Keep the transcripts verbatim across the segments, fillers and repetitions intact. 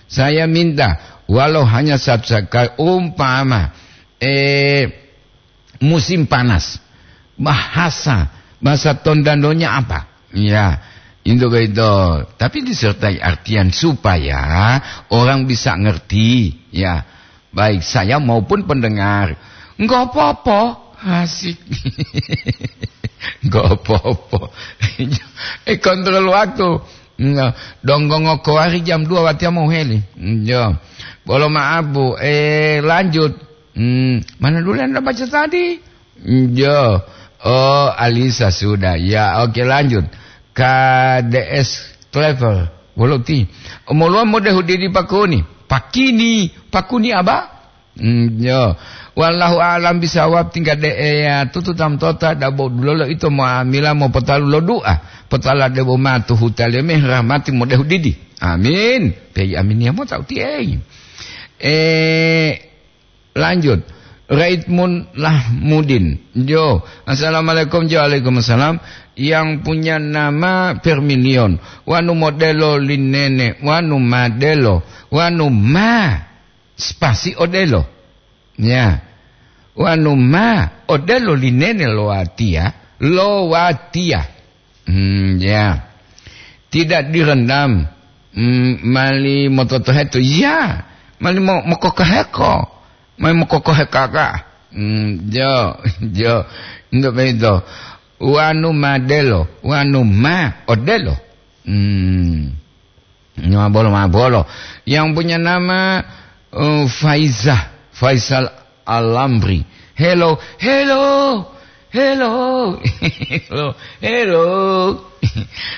Saya minta, walau hanya satu sekali, umpama, eh, musim panas, bahasa, bahasa Tondanonya apa? Ya, itu begitu. Tapi disertai artian supaya orang bisa ngerti. Ya, baik saya maupun pendengar. Enggak apa-apa. Asik. Enggak apa-apa. Eh, kontrol waktu. Nah, donggongo kowari jam dua watiya mau heli. Jo. Bolo maaf, Bu. Eh, lanjut. Hmm, mana dulu yang Anda baca tadi? Jo. Oh, Alisa sudah. Ya, oke, lanjut. K D S Clever. Wolo ti. Omoluwa mode hudidi pakuni. Pakini. Pakuni aba? Hmm, jo. Wallahu a'lam bisawab, tingga de eya tutu tam tota dabo dulolo ito muamila mopotalu lo du'a. Potala debo matu hutale meh rahmati mode hudidi. Amin. Pei amin ya mo tau tiei. Eh, lanjut. Raitmun Lahmudin. Jo. Assalamualaikum. Jo, waalaikumsalam. Yang punya nama Permilion. Wanu modelo linene. Wanu madelo. Wanu ma. Spasi odelo. Ya. Wanu ma odelo linene lo watiya. Lo watiya. Hmm, ya. Tidak direndam. Hmm, mali mototoheto. Ya. Mali mo-, mokokoheko. Mali mokokohekaka. Hmm, jo, jo. Untuk itu. Wanu madelo, wanu ma odelo. Hmm. Mabolo, mabolo. Yang punya nama, eh, Faizah, Faisal Alamri. Hello, hello, hello, hello, hello.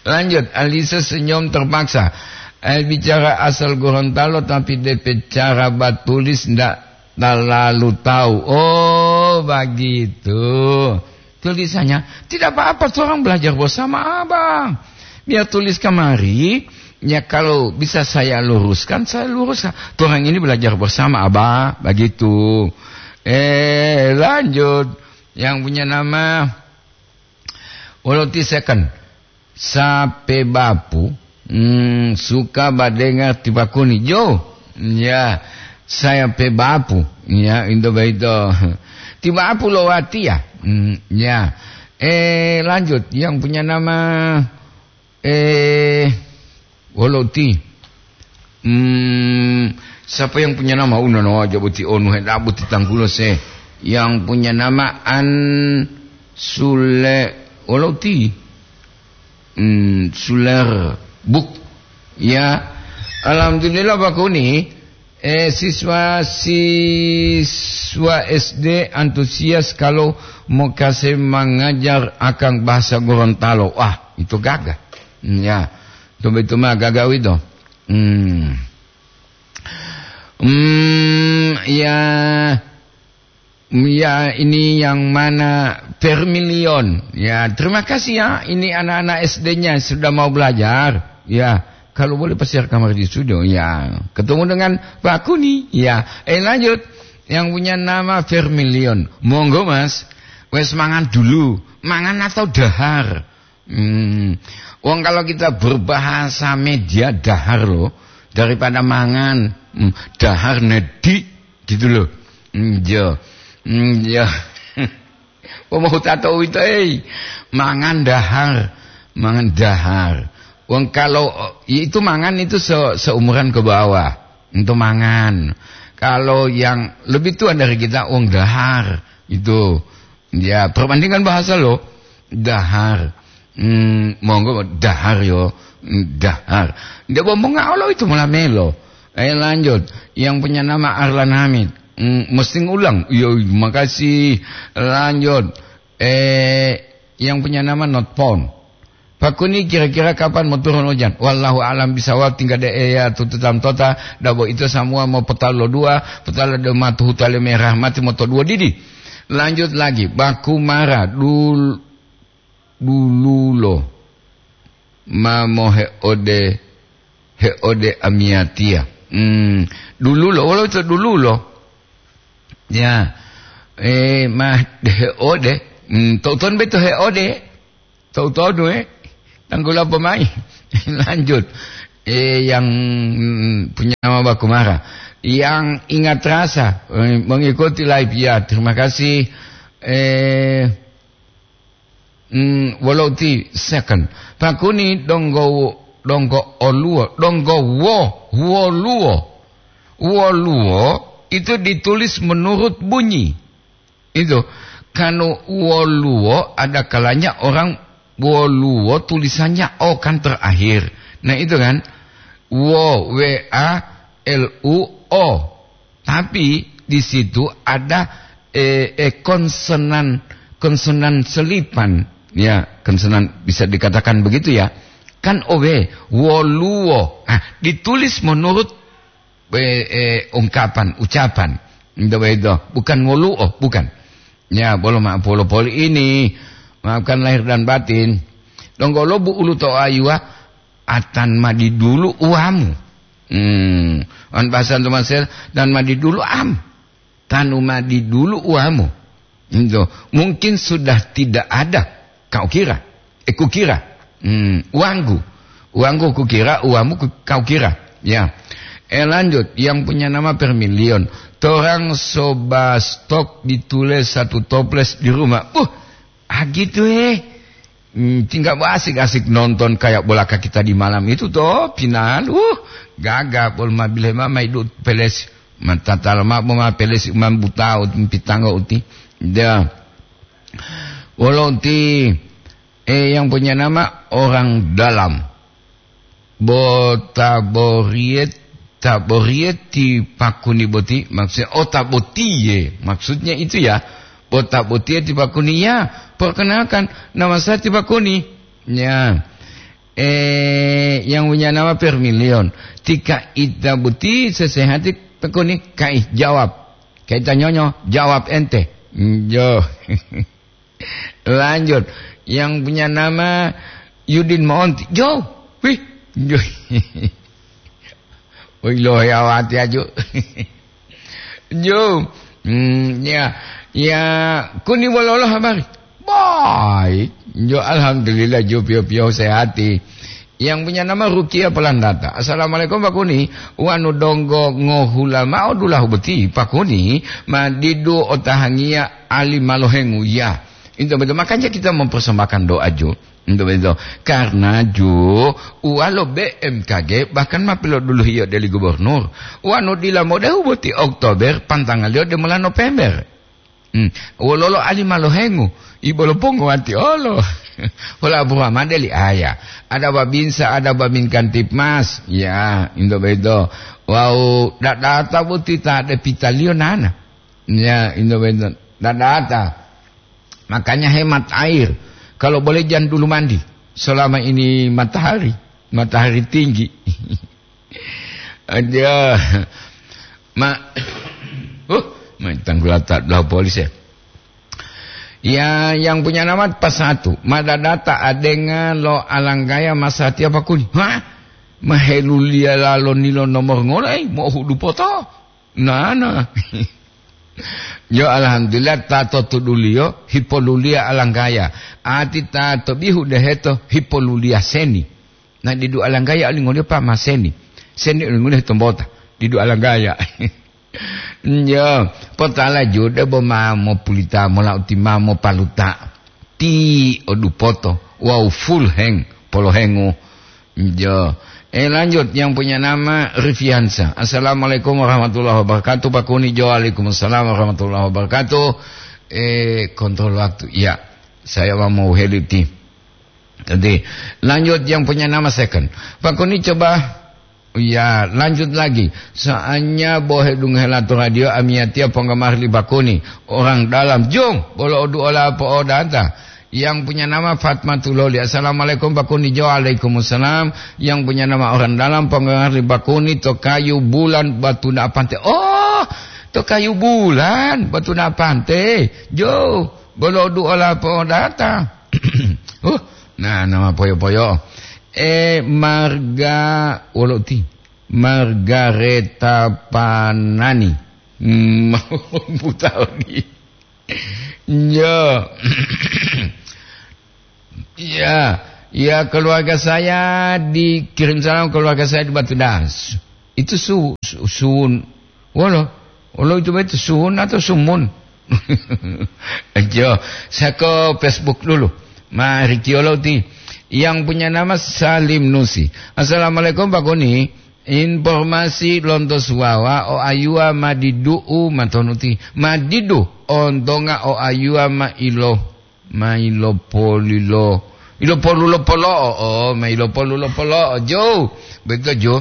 Lanjut, Alisa senyum terpaksa. Eh, bicara asal Gorontalo, tapi D P cara batulis ndak terlalu tahu. Oh, begitu. Tulisannya, tidak apa-apa, orang belajar bersama, Abang. Biar tulis kemari, ya, kalau bisa saya luruskan, saya luruskan. Orang ini belajar bersama, Abang, begitu. Eh, lanjut. Yang punya nama Woloti Second. Sape bapu, hmm, suka badengar tipakuni. Jo, ya, saya pe bapu, ya, into baito. Tibapu lo watiya, hmm, ya. Eh, lanjut, yang punya nama, eh, Woloti. Hmm, siapa yang punya nama? Unono aja boti onu, he, dabu ti tanggulo se. Yang punya nama An Sule, Woloti. Hmm, Suler Buk. Ya. Alhamdulillah, Pak Kuni. Eh, siswa-siswa S D antusias kalau mau kasih mengajar akan bahasa Gorontalo. Wah, itu gagah. Hmm, ya. Itu, itu mah gagah itu. Hmm. Hmm, ya. Hmm, ya, ini yang mana Vermilion. Ya, terima kasih ya. Ini anak-anak S D-nya sudah mau belajar. Ya, kalau boleh pasir kamar di studio. Ya, ketemu dengan Pak Kuni. Ya, eh, lanjut. Yang punya nama Vermilion. Monggo, Mas. Wes mangan dulu. Mangan atau dahar? Hmm. Wong kalau kita berbahasa media dahar loh, daripada mangan, hmm, dahar nedi gitu loh. Hmm, iya. Hmm, iya. Wong mau tato itu, eh, mangan dahar, mangan dahar. Wong kalau itu mangan itu se-, seumuran ke bawah, itu mangan. Kalau yang lebih tua dari kita, wong dahar itu. Ya, perbandingan bahasa lo. Dahar. Hmm, monggo dahar yo. Hmm, dahar. Dia bombong Allah itu mula melo. Eh, lanjut. Yang punya nama Arlan Hamid. Hmm, mesti ngulang. Yo, makasih. Lanjut. Eh, yang punya nama Not Phone. Pakuni kira-kira kapan mau turun hujan? Wallahu a'lam bisawab, tinggal de eya tututam tota, dabo ito semua mau petal lo dua, petal lo dua matu hutale merah mati moto dua didi. Lanjut lagi, baku mara dul-, dululo. Mamo heode, heode amiatia. Hmm, dululo, wolo itu dululo. Ya. Eh, ma heode. Hmm, toton beto heode. Tahu-tahu, eh, tanggulo apa mai? Lanjut. Eh, yang, mm, punya nama Bakumara. Yang ingat rasa, eh, mengikuti live. Ya, terima kasih. Eh, mm, wolo uti second. Pakuni donggo, donggo oluwo, donggo wo, woluwo. Woluwo itu ditulis menurut bunyi. Itu, kanu woluwo, ada kalanya orang woluwo tulisannya O kan terakhir. Nah, itu kan. Wo, W A L U O. Tapi di situ ada, eh, eh, konsonan, konsonan selipan. Ya, konsonan bisa dikatakan begitu ya. Kan O W, woluwo. Ah, ditulis menurut, eh, eh, ungkapan, ucapan. Itu begitu. Bukan woluwo, bukan. Ya, bolo maaf polo-poli ini. Maafkan lahir dan batin. Donggo lo bu ulu to ayuwa, atan madi dulu uwamu. Hmm, wan bahasa Indonesia, dan madi dulu am. Tanu madi dulu uwamu. Itu. Mungkin sudah tidak ada, kau kira. Eh, kukira. Hmm, uwangku. Uwangku kukira, uwamu ku-, kau kira. Ya. Eh, lanjut. Yang punya nama Permilion. Torang soba stok ditulis satu toples di rumah. Uh, ah, gitu, eh. Hmm, tinggal asik-asik nonton kayak bola kaki tadi malam itu toh, final. Uh, gaga pol mabile mama idu peles. Matatala mabo ma peles umam butao pitanggo uti. Dia. Wolo uti, eh, yang punya nama orang dalam. Bo taboriet, taboriet ti pakuni boti, maksudnya, oh, tabotiye, maksudnya itu ya. Bo tabotiye ti pakuni, ya, perkenalkan, nama saya ti pakuni. Ya. Eh, yang punya nama Permilion. Tika ita boti sesehati pakuni, kai jawab. Kaita nyonyo, jawab ente. Yo. Lanjut, yang punya nama Yudin Monti. Jo, wih, jo. Wih, lo ya wati aju. Jo, hmm, ya, ya, kuni wololo habari. Baik, jo, alhamdulillah, jo, pio-pio sehati. Yang punya nama Rukia Pelandata. Assalamualaikum, Pak Kuni. Wanu donggo ngohula mao dulahu boti, Pak Kuni, ma didu otahangiya ali malohengu, ya. Itu betul. Makanya kita mempersembahkan doa, Ju. Itu betul. Karena, Ju, uwalo B M K G bahkan ma piloduluhiyo deli gubernur. Wanu dila modehu boti Oktober, pantangaliyo demola November. Hmm. Wololo ali malohengu, ibolo pongo wati olo. Pola buha made li aya. Ada babinsa, ada babin kantipmas. Ya, indo bedo. Wau dadata boti ta de pitaliyo nana. Ya, indo bedo. Dadata. Makanya hemat air. Kalau boleh jangan dulu mandi. Selama ini matahari, matahari tinggi. Aduh. Ma-, huh, ma tanggulata belau polis ya. Ya, yang punya nama Pasatu, madadata adenga lo alanggaya masatiya pakuni. Hah? Maheluliya lalo nilo nomor ngola, eh, mau hudu poto. Nana. Yo, alhamdulillah, ta to tuduliyo, hipoluliya alanggaya. Ati ta to bihu deheto, hipoluliya seni. Na didu alanggaya olingoliyo pa ma seni. Seni olingoliyo tombota. Didu alanggaya. Njo, potala jude bo ma mopulita mola uti ma mopaluta. Ti odupoto. Wau full heng, polohengu. Njo. Eh, lanjut, yang punya nama Rifiansa. Assalamualaikum warahmatullahi wabarakatuh. Pak Kuni Jo, waalaikumsalam warahmatullahi wabarakatuh. Eh, kontrol waktu. Ya, saya mau heli ti. Jadi, lanjut yang punya nama second. Pak Kuni coba, ya, lanjut lagi. Soalnya bohe dungohe lato radio amiyatiya penggemar li Pak Kuni. Orang dalam, jung, bolo odu ola po odata. Yang punya nama Fatmatuloli. Assalamualaikum Pak Kuni Jo. Waalaikumsalam. Yang punya nama orang dalam penggemar li Pak Kuni to kayu bulan batu na pante. Oh, to kayu bulan batu na pante. Jo, bolo odu ola po odata. Uh, Nah, nama poyo-poyo. Eh, Marga, wolo ti? Margareta Panani. Hmm, buta odi. Ya. Ya. Ya, keluarga saya dikirim salam, keluarga saya di Batu Das. Itu su-, su-, sun. Wolo, wolo itu betul sun atau sumun? Jo, saya ke Facebook dulu. Mari kiolo ti. Yang punya nama Salim Nusi. "Assalamualaikum, Pak Kuni. Informasi lonto Suwawa o ayuwa ma didu'u matonuti. Ma didu ontonga o ayuwa ma ilo, ma ilopolilo. Ilopolulo polo'o, oh, ma ilopolulo polo'o, Jo." Betul, Jo.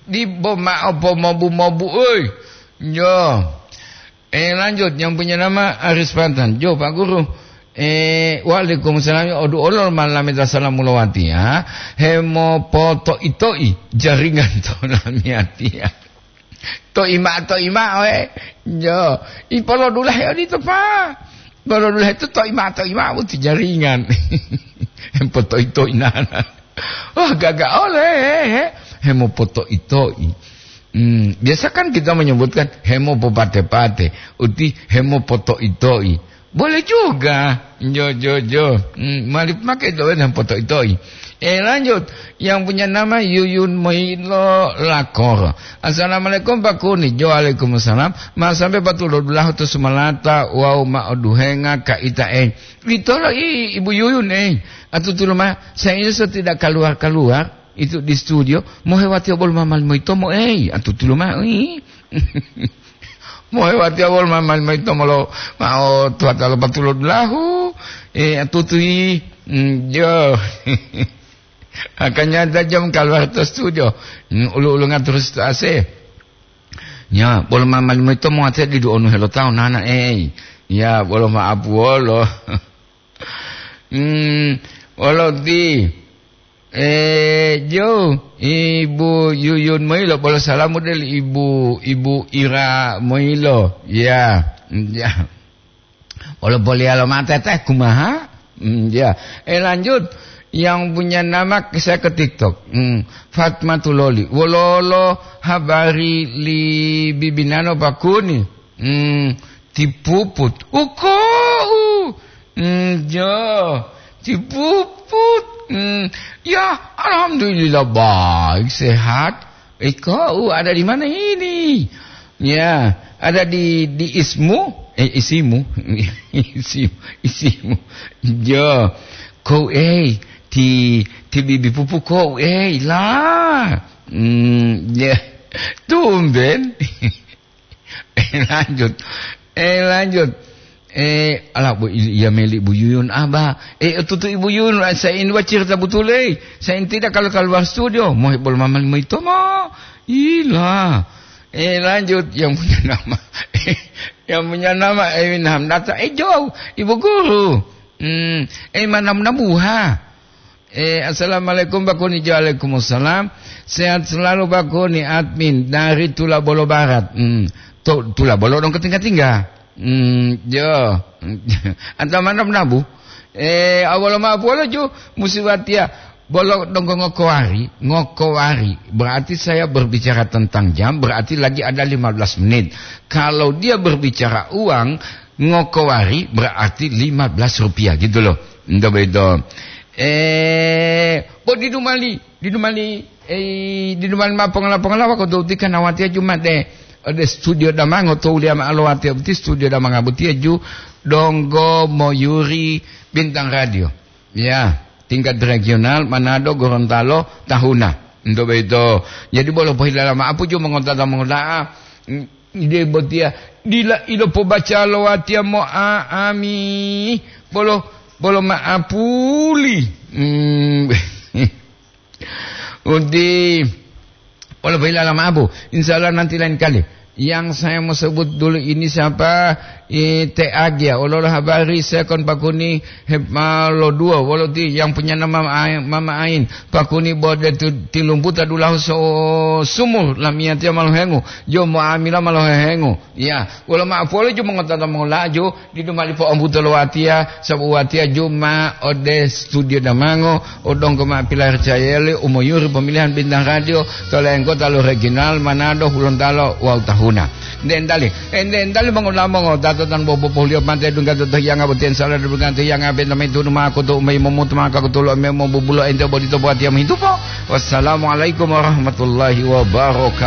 Dibo ma'o pomobu-mobu, oi. Jo. Eh, lanjut, yang punya nama Aris Pantan. Jo, Pak Guru. Eh, waalaikumsalam. Odu olol malameta salamu lowatiya. Hemopoto'i-to'i jaringan to lamiyatiya. To'i ma'o, to'i ma'o, eh. Jo. Ipolodulahe odito, Pak. Polodulahe to to'i ma'o, to'i ma'o, buti jaringan. Hemopoto'i-to'i nana. Wah, gaga ole, he, he. Hemopoto'i-to'i. Hmm, biasa kan kita menyebutkan hemopopate-pate, uti hemopoto'i-to'i. Boleh juga. Jo, jo, jo. Hmm, mali pakai doa dan poto'i-to'i. Eh, lanjut. Yang punya nama Yuyun Moilo Lakoro. "Assalamualaikum, Pak Kuni." Jo, waalaikumsalam. "Ma sampai patulodulahu to Sumalata, wau ma oduhenga ka ita, eh." Itolo i Ibu Yuyun, eh. Atutulo ma, saya ini so tidak keluar-keluar. Itu di studio, mohewatiya bolo mamali moyitomo, ei, atutulo mao, ih. Mohewatiya bolo mamali moyitomo lo, mao tuwata lo patulodulahu, eh, atutu, ih. Mm, jo. Makanya ta jam kaluar to studio. Mm, ulu-ulunga terus to A C. Ya, bolo mamali moyitomo ate didu onu helo tawu nana, ei. Ya, bolo ma'apu wolo. Hmm, wolo ti. Eh, jo, Ibu Yuyun moyilo, bolo salamu del Ibu, Ibu Ira moyilo. Ya, ya. Wolo boliyalo mate teh, kumaha? Hmm, ya. Eh, lanjut. Yang punya nama saya ke TikTok. Hmm, Fatmatuloli. Wololo habari li bibinano pakuni? Hmm, tipuput. Uko, u. Hmm, jo. Tipuput. Hmm, ya, alhamdulillah baik, sehat. Iko, u, ada di mana ini? Ya, ada di, di ismu. Eh, isimu. Isimu, isimu. Jo. Ko, eh, ti, ti bibi pupu ko, eh, la. Hmm, ya. Tumben. Eh, lanjut. Eh, lanjut. Eh, ala, Bu, iya meli Ibu Yuyun, Aba. Eh, tutu Ibu Yuyun, saya ini, Ba, cerita betul, eh. Saya ini tidak kalau keluar studio. Mau bol mamal moyitomo. Ila. Eh, lanjut. Yang punya nama. Yang punya nama Ewin Hamdata. Eh, jauh. Ibu Guru. Hmm, eh, mana nabuha? Eh, assalamualaikum, Pak Kuni. Waalaikumsalam. Sehat selalu, Pak Kuni, admin dari Tulabolo Barat. Hmm. To, Tulabolo dong ketingga-tingga. Hmm, jo. Anta mana nabu? Eh, awal ma polo ju musiwatia. Bolo donggo ngokowari, ngokowari. Berarti saya berbicara tentang jam, berarti lagi ada lima belas menit. Kalau dia berbicara uang, ngokowari berarti lima belas rupiah gitu loh. Ndo bedo. Eh, bo didu mali, didu mali, eh, didu mali ma pongala-pongala wako do tika nawatia Jumat de. Ode studio damango to ulia ma alowati uti studio damango butia ju donggo moyuri Bintang Radio. Ya, tingkat regional, Manado, Gorontalo, Tahuna. Ndo bedo. Jadi bolo pohilala ma apu ju mongotata mongoda'a. Ide botiya dila ilopobaca lo watiya mo'a'ami bolo, bolo ma'apuli. Hmm. Uti, wolo boyila lama abu. Insya Allah nanti lain kali. Yang saya mau sebut dulu ini siapa? Eh, T A G ya. Wolo habari saya kon pakuni hep malo dua. Wolo ti yang punya nama Mama Ain. Pakuni bode tu, tilumputa dulahu so sumur lamiyatiya malo hengu. Jo mo'amila malo hehengu. Ya, wolo ma'o poli ju mongotata mongolaju, didu mali po'ombuto lo watiya, sabu watiya ju ma ode studio damango, o donggo ma pilarcayeli, u moyuri pemilihan bintang radio, to lengkota lo regional, Manado, Hulontalo, wawu Tahuna. Ende endali, ende endali mongolamo ngotato tan bobo pohliyo mate dungga to hiyanga boten sala dungga to hiyanga benta mai tunu mako to umai momutu maka ko tolo memo bubulo ente bodito buatiya mohitupo. Wassalamualaikum warahmatullahi wabarakatuh.